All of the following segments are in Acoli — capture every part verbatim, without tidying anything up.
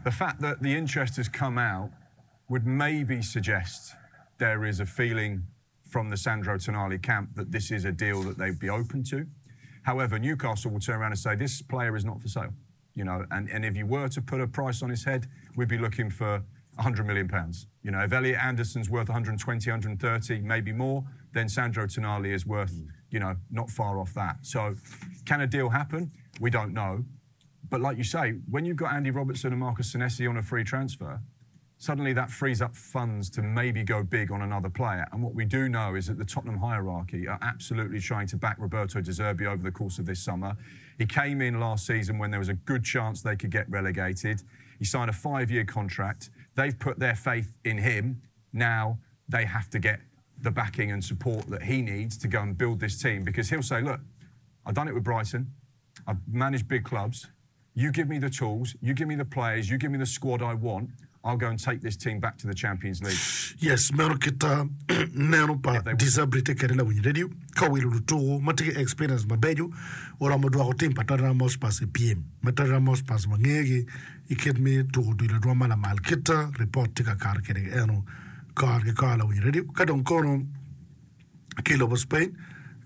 The fact that the interest has come out would maybe suggest there is a feeling from the Sandro Tonali camp that this is a deal that they'd be open to. However, Newcastle will turn around and say this player is not for sale. You know, and, and if you were to put a price on his head, we'd be looking for one hundred million pounds. You know, if Elliot Anderson's worth one hundred twenty, one hundred thirty, maybe more, then Sandro Tonali is worth, you know, not far off that. So can a deal happen? We don't know. But like you say, when you've got Andy Robertson and Marcus Senesi on a free transfer, suddenly that frees up funds to maybe go big on another player. And what we do know is that the Tottenham hierarchy are absolutely trying to back Roberto De Zerbi over the course of this summer. He came in last season when there was a good chance they could get relegated. He signed a five-year contract. They've put their faith in him. Now they have to get the backing and support that he needs to go and build this team, because he'll say, "Look, I've done it with Brighton. I've managed big clubs. You give me the tools, you give me the players, you give me the squad I want, I'll go and take this team back to the Champions League." Yes, meno kita neno pa They- De Zerbi tye kede lawiny radio ka wilo lutuku ma tye ki experience mabeco oromo dwoko tim pa Tottenham Hotspur i pyem ma Tottenham Hotspur wangegi i kit me tuko odilo rwom ma lamal kita report tye ka kato kede eno kor ki kor lawiny radio ka dong kono ki lobo Spain.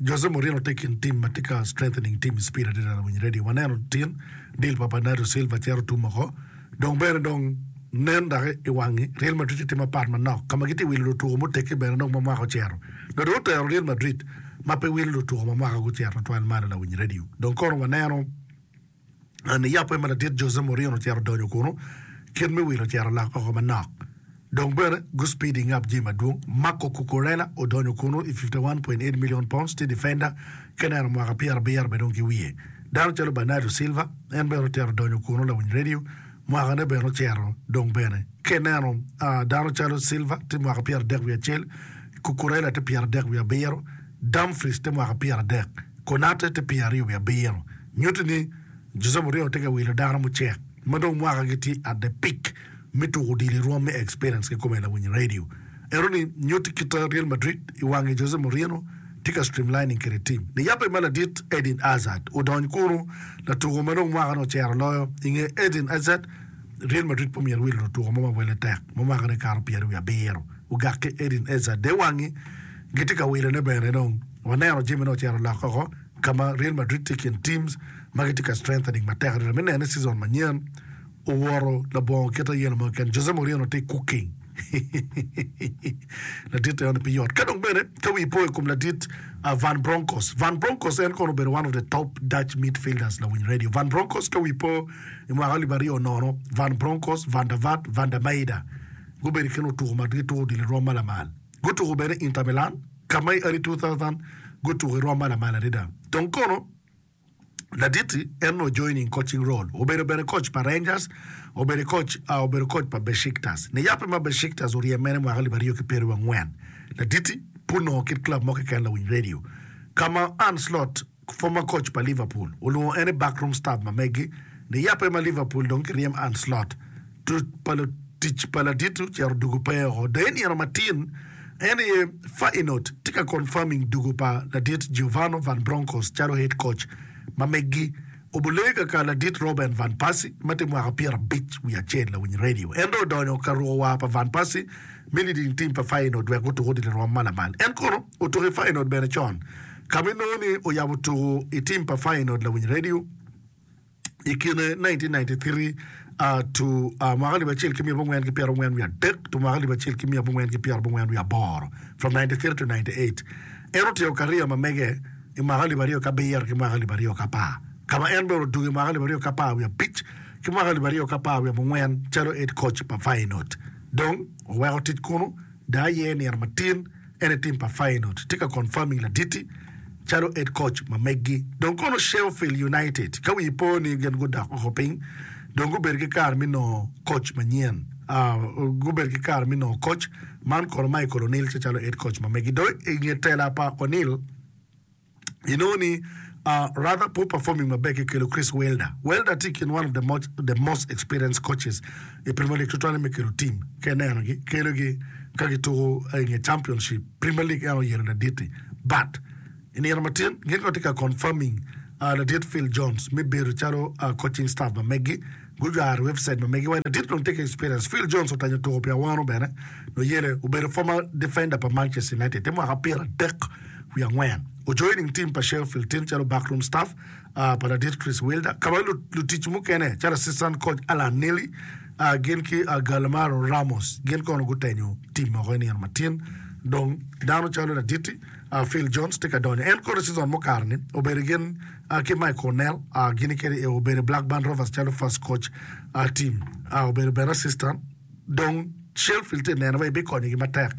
Jose Mourinho tye kin team ma tye ka strengthening team speed adada. Lawiny radio waneno tin deal pa Bernardo Silva cero tum oko dong bene dong nen dok i wangi Real Madrid tye mapat manok ka ma gitye wilo lutuko muteggi bene dong ma mwaka ocero dong dong otero Real Madrid ma pe wilo lutuko ma mwaka gucero twal malo. Lawiny radio dong kono waneno ni yape ma ladit Jose Mourinho ocero donyo kuno kit me wilo ocero lok oko manok dong bene gu speeding up jami madwong. Marco Cucurella odonyo kuno i fifty-one point eight million pounds tye defender keneno mwaka pyera abiro bene dong ki wiye dano calo Bernardo Silva en bene otero donyo kuno. Lawiny radio mwakane bene ocero dong bene keneno uh, dano calo Silva tye mwaka pyera adek wiye acel, Cucurella tye pyera adek wiye abiro, Dumfries tye mwaka pyera adek, Konate tye pyera aryo wiye abiro. Nyuto ni Jose Mourinho tye ka wilo dano mucek ma dong mwaka gitye at the peak me tuko odilo i rwom me experience kikome. Lawiny radio eno ni nyuto kita Real Madrid i wangi Jose Mourinho tye ka streamlining kede team ni yape ma ladit Eden Hazard odony kunu latuko ma dong mwaka no ocero loyo inge Eden Hazard. Real Madrid po myero wilo lutuko mo ma wele tek ma mwaka ne kato pyeri wiye abiro ogak ki Eden Hazard de wangi gitye ka wilone bene dong waneno jami ne ocero loko oko kama Real Madrid tye kin teams ma gitye ka strengthening matek adada me nene season manyen oworo labongo kita yeno mo keken. Jose Mourinho tye cooking ladit eno pi yot ka dong bene ka wi po i kom ladit uh, Van Bronckhorst. Van Bronckhorst en kono obedo one of the top Dutch midfielders. Lawiny radio Van Bronckhorst ka wi po i mwaka alip aryo nono Van Bronckhorst, Van der Vaart, Van der Meyde gubedo kin otuko ma gituko odilo i rwom ma lamal gutuko bene Inter Milan ka ma i early two thousand gutuko i rwom ma lamal adada. Dong kono laditi en no joining coaching role obedo bene coach pa Rangers, obedo coach uh, obedo coach pa Besiktas ni yape ma Besiktas oryem mene mwaka alip aryo ki pyeri angwen laditi puno kit club mo keken. Lawiny radio kama Arne Slot, former coach pa Liverpool, olwongo en i backroom staff ma megi ni yape ma Liverpool dong kiryem Arne Slot tu pa tic pa ladit ocero dugo pe oko de nino matin en ye Feyenoord tye ka confirming dugo pa ladit Giovanni Van Bronckhorst calo head coach ma megi obule kaka ladit Robin van Persie ma tye mwaka pyera abic wiye acel. Lawiny radio en dong odonyo ka ruko war pa Van Persie me leading team pa Feyenoord wek gutuko odilo rwom ma lamal. En kono otuko i Feyenoord bene con kama inongo ni oyabo tuko i team pa Feyenoord. Lawiny radio i kine nineteen ninety-three uh, to uh, mwaka alip acel ki miya abongwen ki pyera abongwen wiye adek to mwaka alip acel ki miya abongwen ki pyera abongwen wiye aboro, from ninety-three to ninety-eight. En otimo career ma mege i mwaka alip aryo ki abiro ki mwaka alip aryo ki apar kama en bene odugo i mwaka alip aryo ki apar wiye abic ki mwaka alip aryo ki apar wiye abongwen calo head coach pa Feyenoord. Dong oweko tic kunu da aye nino matin en i team pa Feyenoord tye ka confirming laditi calo head coach ma meggi. Dong kono Sheffield United ka wi po ni gin gudok oko piny dong gubedo ki kare me nongo coach manyen uh, gubedo ki kare me nongo coach man kono Michael O'Neill tye calo head coach ma meggi. Dong i nge tela pa O'Neill inongo ni uh, rather poor performing maber kikelo Chris Wilder. Wilder tye kin one of the most, the most experienced coaches i Premier League tutwale me kelo team ke nenogi kelogi ka gituko i nge Championship Premier League en oyero laditi but i nino matin gin ko tye ka confirming uh, ladit Phil Jones me bedo calo uh, coaching staff ma meggi. Gujwaro website ma megi wa ladit dong tye ki experience. Phil Jones otanyo tuko pi awano bene nuyele obedo former defender pa Manchester United te mwaka pyera adek wiye angwen. Ojoining team pa Sheffield tin calo backroom staff uh, pa ladit Chris Wilder. Ka ma lutic mukene calo assistant coach Alan Neely uh, gin ki uh, Galmaro Ramos gin kono gutenyo team moko i nino matin. Dong dano calo laditi uh, Phil Jones tye ka donyo. En kono season mukato ni obedo gin uh, ki Mike Cornell uh, gin kede eh, obedo Blackburn Rovers calo first coach uh, team uh, obedo bene assistant. Dong Sheffield tye neno wa ibikonyogi matek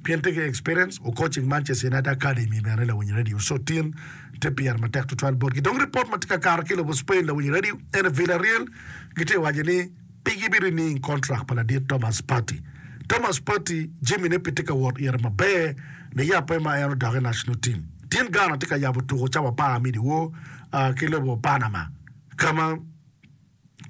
pien tye ki experience o coaching Manchester United Academy bene lawiny radio so tin te pyer matek tutwal botgi. Dong report ma tye ka kato ki lobo Spain lawiny radio ene Villarreal gitye waco ni pe gibirenew contract pa ladit Thomas Partey. Thomas Partey jamine pe tye ka wot ire maber ne yape ma en odok i national team. Tin Ghana tye ka yabo tuko cawa apar me dyewor uh, ki lobo Panama kama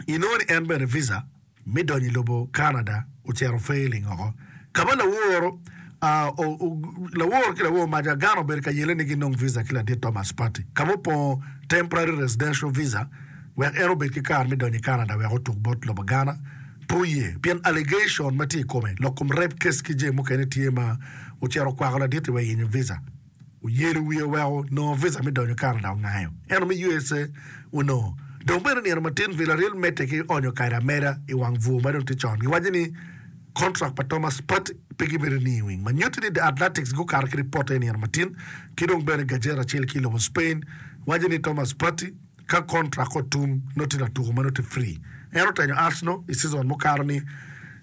inongo ni en bene visa me donyo i lobo Canada ocito failing oko. Kama laworo uh, o, o, laworo ki laworo maca Ghana obedo ka yele ni ginong visa ki ladit Thomas Partey kama opongo temporary residential visa wek en obed ki kare me donyo i Canada wek otuk bot lobo Ghana pe oye pien allegation ma tye i kome lok kom rape case ki jami mukene tye ma ocito okwako ladit wek yenyo visa oyelo wiye oweko nongo visa me donyo Canada ongayo ento me U S A onongo dong bene nino matin Villarreal medde ki onyo kado ameda i wang bur ma dong tye con giwaco ni contract pa Thomas Partey pe gibedo renewing ma nyuto ni The Athletics gukato ki report i nino matin ki dong bene Gazette acel ki i lobo Spain waco ni Thomas Partey ka contract otum nongo tye latuko ma nongo tye free en otenyo Arsenal i season mukato ni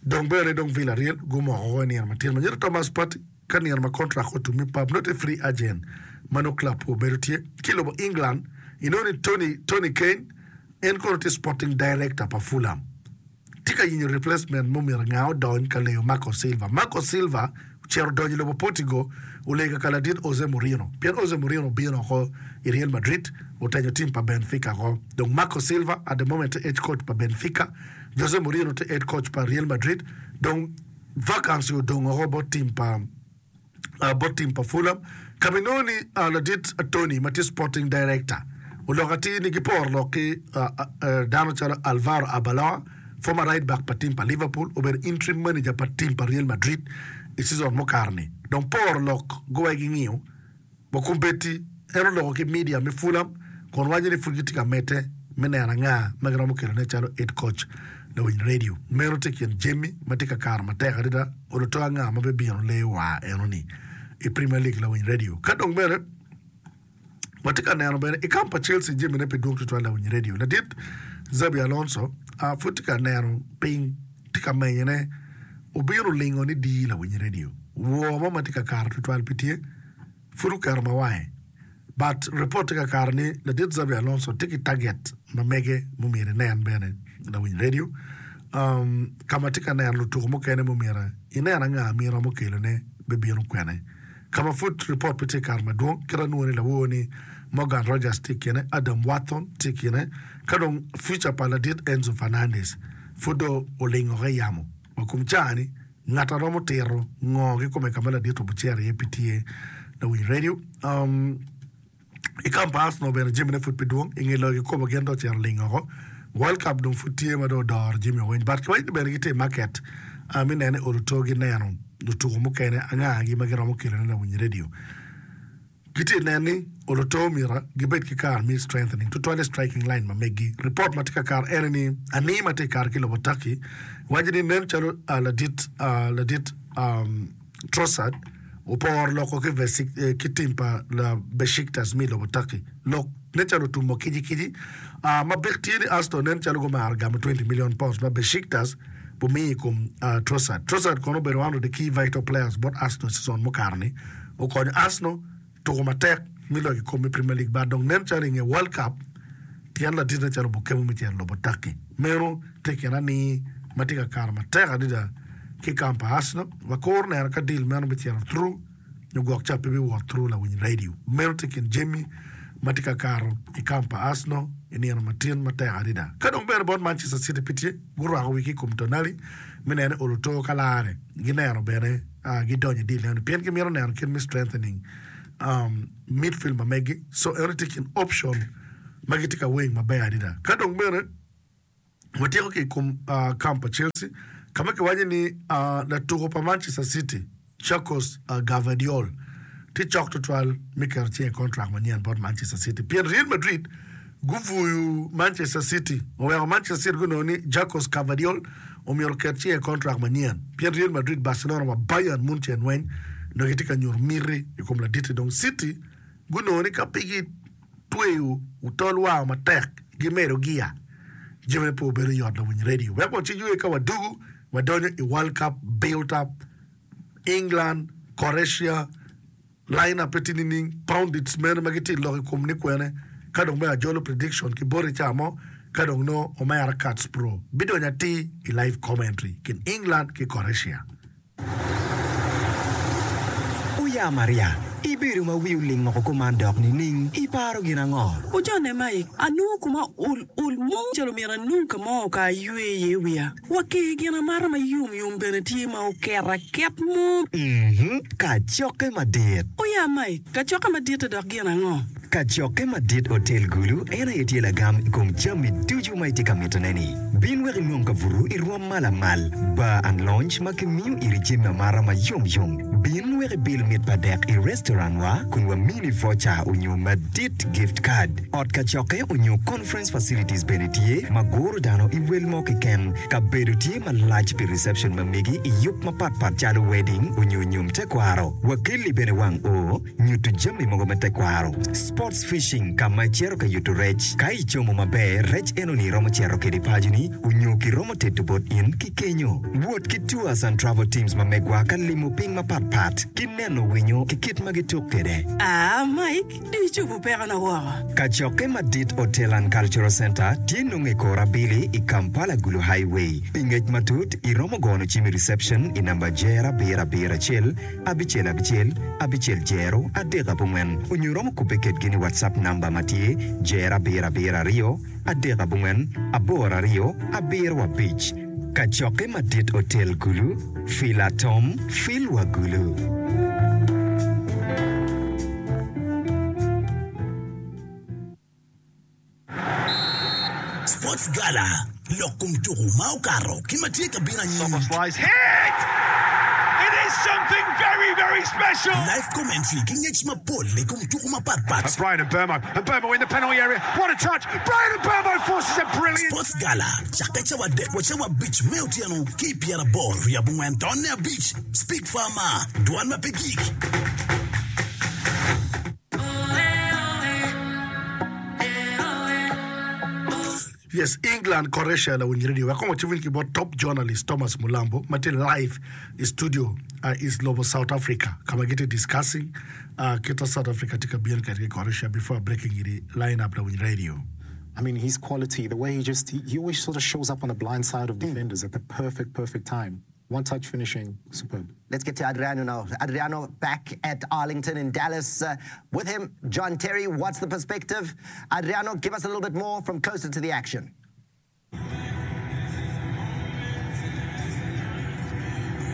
dong bene dong Villarreal gumoko i nino matin ma nyuto Thomas Partey ka nino ma contract otum i pub nongo tye free agent ma nongo club obedo tye ki i lobo England inongo ni Tony, Tony Kane en kono tye sporting director pa Fulham tye ka yenyo replacement mumito nga odony ka leyo Marco Silva. Marco Silva ocito odonyo i lobo Portugal olego ka ladit Jose Mourinho pien Jose Mourinho obino oko i Real Madrid otenyo team pa Benfica oko dong Marco Silva at the moment tye head coach pa Benfica Jose Mourinho tye head coach pa Real Madrid dong vacancy odong oko bot team pa uh, bot team pa Fulham kama inongo ni uh, ladit Tony ma tye sporting director oloko atir ni giporo lok ki uh, uh, dano calo Alvaro Arbeloa former right back pa team pa Liverpool obedo interim manager pa team pa Real Madrid i season mukato ni dong poro lok guwai ging'iyo bokumbeti en oloko ki media me Fulham kun waco ni pud gitye ka medde me neno anga ma giromo kelone calo head coach lawiny radio meno tye kin jami ma tye ka kato matek adada oluto anga ma bibino leyo wa eno-ni i Premier League lawiny radio ka dong bene watye ka neno bene i kamp pa Chelsea jamine pe dwong tutwal lawiny radio ladit Xabi Alonso uh, pud tye ka neno piny tye ka menyone obino lingo ni di lawiny radio woo mo ma tye ka kato tutwal pe tye pud oketo mawange but report tye ka kato ni ladit Xabi Alonso tye ki target ma mege mumyero inen bene lawiny radio um, kama tye ka neno lutuko mukene mumyero inen anga mi romo kelone bibino kwene kama pud report pe tye kato madwong kit anwongo ni lawor ni Morgan Rogers tye i kine Adam Wharton tye i kine ka dong future pa ladit Enzo Fernandez pud do olingo i yamo ma kum cani ngat a romo tiro ngo kikome kama ladit obucero iye pe tye lawiny radio um, i kamp pa Arsenal bene jamine pud pe dwong i nge loyo kikopo gin dong ocito lingo oko World Cup dong pud tye ma dong odoro jami weng but kiwaco ni bene gitye i market uh, mi nene oluto gineno lutuko mukene angagi ma giromo kelone lawiny radio gitye neno ni oluto myero gibed ki kare me strengthening tutwale striking line ma megi report ma tye ka kato ene ni ani ma tye ka kato ki lobo Turkey waco ni nen calo uh, ladit uh, ladit um, Trossard oporo loko ki, Vesik, eh, ki team pa la Besiktas mi lobo Turkey lok nen calo otumo kici kici uh, ma bik tye ni Arsenal nen calo gumaro gamo twenty million pounds ma Besiktas bumiyo i kom uh, Trossard. Trossard kono obedo one of the key vital players bot Arsenal season mukato ni okonyo Arsenal tuko matek mi loyo kikombe me Premier League but dong nen calo i nge World Cup tyen ladit nen calo bukemo me cito lobo Turkey meno tye kina ni ma tye ka kato matek adada ki kamp pa Arsenal wakuro neno ka deal meno bicito through nyo gwok ca pe biwot through lawiny radio meno tye kin jami ma tye ka kato i kamp pa Arsenal i nino matin matek adada ka dong bene bot Manchester City pe tye gurwako wigi i kom Tonali me nene oluto ka lare gineno bene uh, gidonyo i deal eno pien gimito neno kit me strengthening um, midfield ma megi so eno tye kin option ma gitye ka weng maber adada ka dong bene Watyeko ki i kom uh, camp pa Chelsea ka ma kiwaco ni uh, latuko pa Manchester City Jacos uh, Gvardiol tye cok tutwal me keto cinge i contract manyen bot Manchester City pien Real Madrid gubuyo Manchester City oweko Manchester City gunongo ni Jacos Gvardiol omyero oket cinge i contract manyen pien Real Madrid Barcelona wa Bayern Munchen weng dong gitye ka nyuto miti i kom laditi dong City gunongo ni ka pe gitweyo utol war matek gimedo gia jami pe obedo yot lawiny radio wek waci ka wadugu wadonyo i World Cup build up England Croatia line up tye nining pundits mene ma gitye lok i kom ni kwene ka dong me ajolo prediction ki boti ca mo ka dong no omera Cats Pro bidonyo atir i live commentary kin England ki Croatia. Oya Maria, ibedo ma wi oling oko kuman dok nining iparo gin ango? Ojone Mike, anongo kuma ol ol mo calo myero anong ka mo ka aywe iye wiya. Wa ki gin amata ma yom yom bene tye ma oket aket mo. Mhm, kacokke madit. Oya Mike, kacokke madit dok gin ango? Kacokke madit Hotel Gulu en aye tye lagam i kom jami ducu ma itye ka mitone-ni. Bin wek inwong kabuto i rwom ma lamal, bar and lounge ma kimiyo iri jami amata ma yom yom. Bin wek ibil mit pa dek i restaurant wa kun wamini voucher onyo madit gift card. Ot kacokke onyo conference facilities bene tye ma guro dano i wel mo keken. Kabedo tye malac pi reception ma megi i yub mapatpat calo wedding onyo nyom tekwaro. Wakeli bene wang o nyuto jami mogo me tekwaro. Sports fishing ka ma icito ka yuto rec. Ka icomo maber, rec enoni romo cito kede paconi onyo kiromo teto bot in ki kenyo. Wot ki tours and travel teams ma megwa ka limo piny mapatpat ki neno winyo ki kit ma gituk kede. Ah, Mike, di icobo pekona woko. Kacokke Madit Hotel and Cultural Center tye nongo i kor abili i Kampala Gulu Highway. Pi ngec matut iromo gono cim i reception i namba jer abiro abiro acel abicel abicel abicel jero adek abongwen onyo iromo kubbe kedgi ni WhatsApp namba ma tye jer abiro abiro aryo adek abongwen aboro aryo abiro abic. Kacokke Madit Hotel Gulu, Fila Tom, Fil wa Gulu. Sports Gala, lok kom tuku ma okato ki ma tye ka bino anyim. Hit! It is something very, very special. Live commentary ki ngec mapol i kom tuku mapatpat. Brian Mbeumo, and Mbeumo in the penalty area. What a touch! Brian Mbeumo forces a brilliant. Sports Gala, cakke cawa adek wa cawa abic me otyeno ki pyeraboro wiye abongwen tonne abic. Speak Farmer, dwan ma pe gik. Yes, England Croatia lawiny radio. Wek kong wacim ki bot top journalist Thomas Mulambo ma tye live i studio uh, is lobo South Africa. Kama gitye discussing uh, kita South Africa tye ka bino kede ki Croatia before breaking it line up lawiny radio. I mean, his quality, the way he just, he, he always sort of shows up on the blind side of defenders at the perfect, perfect time. One touch finishing, superb. Let's get to Adriano now. Adriano back at Arlington in Dallas. Uh, with him, John Terry. What's the perspective? Adriano, give us a little bit more from closer to the action.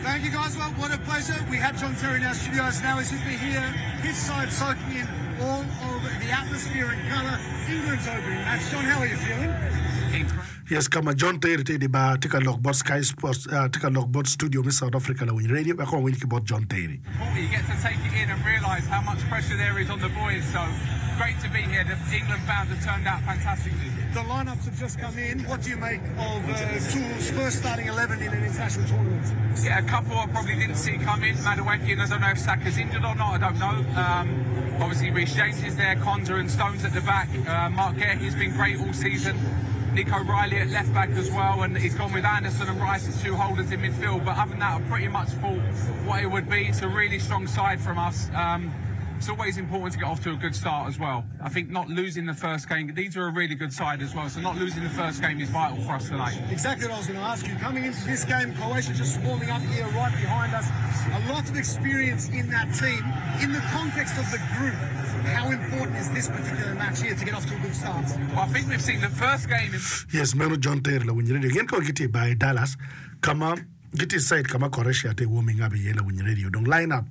Thank you, guys. Well, what a pleasure. We had John Terry in our studios. Now he's with me here. His side soaking in all of the atmosphere and colour. England's opening match. John, how are you feeling? Yes, kama John Terry tye di bar tye ka lok bot Sky Sports uh, tye ka lok bot studio me South Africa lawiny radio. Wek kong wawiny ki bot John Terry. You get to take it in and realise how much pressure there is on the boys. So great to be here. The England fans have turned out fantastically. The lineups have just come in. What do you make of uh, Tool's first starting eleven in an international tournament? Yeah, a couple I probably didn't see come in. Madueke, and I don't know if Saka's injured or not. I don't know. Um, obviously, Reece James is there, Konsa and Stones at the back. Uh, Marc Guehi's been great all season. Nico Riley at left back as well, and he's gone with Anderson and Rice as two holders in midfield. But other than that, I pretty much thought what it would be. It's a really strong side from us. Um, it's always important to get off to a good start as well. I think not losing the first game, these are a really good side as well, so not losing the first game is vital for us tonight. Exactly what I was going to ask you. Coming into this game, Croatia just warming up here right behind us. A lot of experience in that team. In the context of the group, how important is this particular match here to get off to a good start? Well, I think we've seen the first game in Yes, meno John Terry lawiny radio. Gin kong gitye i Dallas kama gitye side kama Croatia tye warming up iye lawiny radio. Dong line up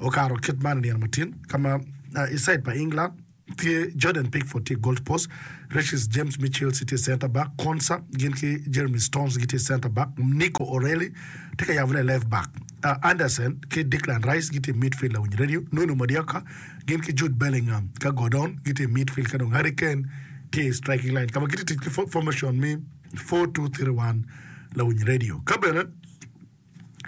okato kit man i nino matin kama uh, i side pa England tye Jordan Pickford tye goal post, Reece James Mitchell tye center back, Konsa gin ki Jeremy Stones gitye center back, Nico O'Reilly tye ka yabone left back. Uh, Anderson ki Declan Rice gitye midfield lawiny radio, Noni Madueke gin ki Jude Bellingham ka Gordon gitye midfield ka dong Harry Kane tye striking line. Ka ma gitye tic ki formation mi four two three one lawiny radio. Ka bene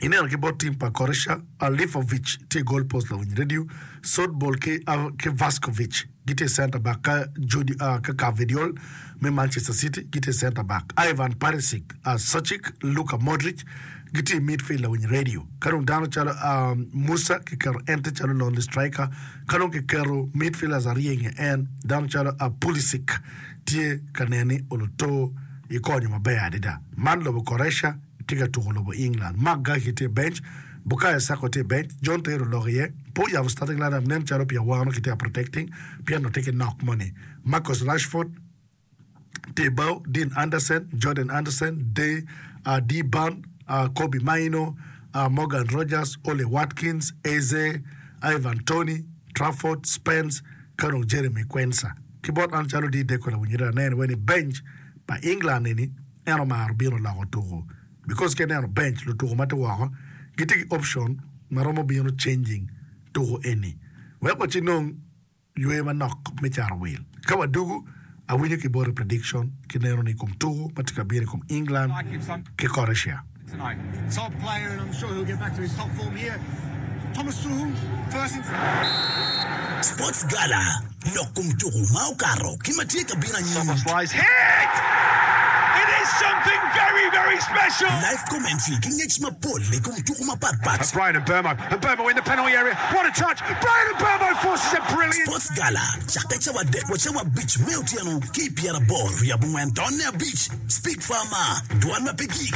ineno ki bot team pa Croatia, Alifovic tye goal post lawiny radio, Sodbol ki, uh, ki Vaskovic gitye center back ka Judy, uh, ka Gvardiol me Manchester City gitye center back. Ivan Perisic, uh, Suchik, Luka Modric gitye midfield lawiny radio. Ka dong dano calo um, Musa kiketo en tye calo lonely striker, ka dong kiketo midfielders aryo i nge en dano calo uh, Pulisic tye ka neni oluto i konyo maber adada. Man lobo Croatia tye ka tuko lobo England. Marc Guehi tye bench, Bukayo Saka tye bench, John Terry oloko iye, po yabo starting lineup nen calo pi awano ki tye protecting, pien tye ki knock money. Marcus Rashford tye bao, Dean Anderson, Jordan Anderson, Day, uh, D. Burn, uh, Kobbie Mainoo, uh, Morgan Rogers, Ollie Watkins, Eze, Ivan Toney, Trafford, Spence, ka dong Jeremy Quenza. Ki bot an calo di deko lawiny radio aneno weni bench pa England ni en omaro bino loko tuko. Because ka ineno bench lutuko ma tye woko gitye ki option ma romo bino changing tuko eni. Wek waci nong ywe manok me caro wil. Ka wadugu awinyo ki bote prediction ki neno ni kom tuko ma tye ka bino i kom England ki Croatia. Tonight. Top player, and I'm sure he'll get back to his top form here. Thomas Tuchel, first in... Sports Gala, lok kom tuko ma okato ki ma tye ka bino anyim. Slice hit! It is something very, very special. Live commentary ki ngec mapol i kom tuko mapatpat. Bryan Mbeumo, and Mbeumo in the penalty area. What a touch! Bryan Mbeumo forces a brilliant... Sports Gala, cakke cawa adek wa cawa abic me otyeno ki pyeraboro wiye abongwen tonne abic. Speak Farmer, dwan ma pe gik.